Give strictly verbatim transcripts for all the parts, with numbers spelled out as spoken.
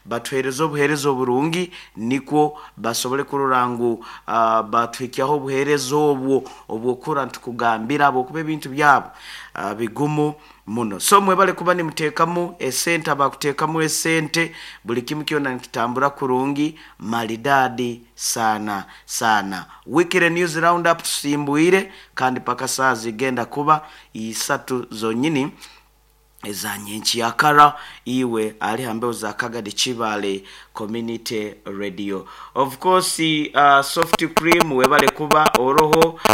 Batuhereza obuhereza oburungi, nikwo basobole kurora ngu uh, batuhikyaho obuhereza obwo obwokura ntukugambira bwokuba ebintu byabo uh, bigumu muno. So mwebale kuba nimuteekamu esente, abakuteekamu esente, buli kimu kyona nikitambura kurungi maridadi sana sana. Weekly News Roundup tusimbwire, kandi paka saa zigenda kuba isatu zonyini eza nyenkyakara. Iwe ali hambeho za Kagadi Kibale Community Radio. Of course, uh, Soft Cream, webale kuba oroho, uh,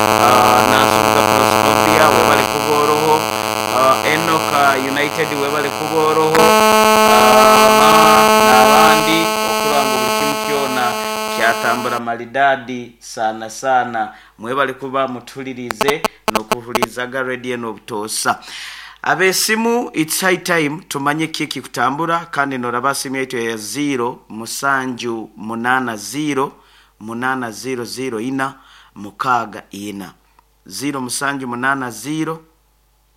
Nansubuga Proscovia, webale kuba oroho, uh, Enoka United, webale kuba oroho, uh, n'abandi okuranga buli kimu kyona kyatambura maridadi sana sana. Mwebale kuba mutulirize n'okuhulizaga radio n'obutoosa. Abesimu, it's high time tumanye kiki kutambura, kandi noraba simu yaitu ya zero musanju munana zero munana zero zero ina mukaga ina, zero musanju munana zero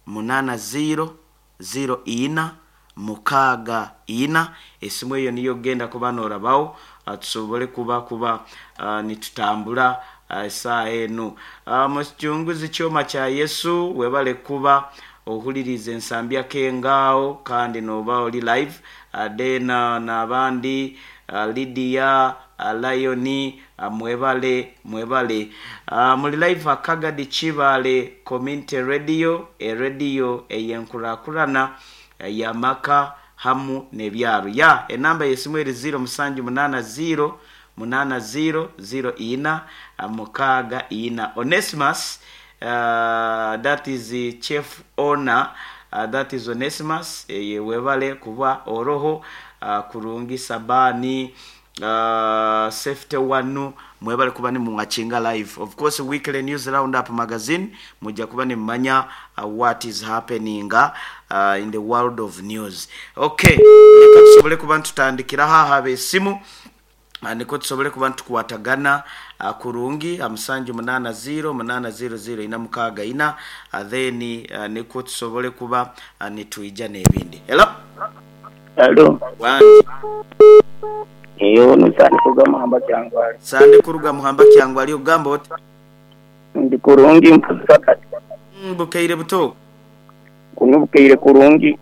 munana zero zero ina mukaga ina. Esimu eyo niyo genda kuba norabawo, uh, tusobole kuba kuba uh, nitutambura uh, esaaha enu. uh, mukichunguzi kyoma kya Yesu, webale kuba ohuliriza ensambya kengaawo, kandi noba oli live. uh, then uh, n'abandi, uh, Lydia, uh, Lioni, uh, mwebale mwebale uh, muli live Akagadi Kibale Community Radio, eradio eyenkurakurana uh, yamaka hamu n'ebyaro. Ya enamba yesimu eri zero musanju munana zero munana zero zero ina uh, mukaga ina. Onesimus, uh, that is the chief owner, uh, that is Onesimus, eh, webale kuba oroho, uh, kurungi sabani, uh, safety wanu, mwebale kuba ni muwatchinga live. Of course, Weekly News Roundup magazine mujja kuba nimumanya uh, what is happening uh, in the world of news. Okay, reka tusobole kuba ntutandikiraho aha abesimu, uh, niko tusobole kuba ntukwatagana uh, kurungi musanju munana zero munana zero zero ina mukaga ina, uh, then uh, niko tusobole kuba uh, nitwija n'ebindi. Hello. Hello. Wangi. Iyo nusani kuga Muhamba Kyangwali. Sande kuruga Muhamba Kyangwali, ogamba oti? Ndi kurungi mpaka kati. Mm, bukeire buto. Kuno bukeire kurungi.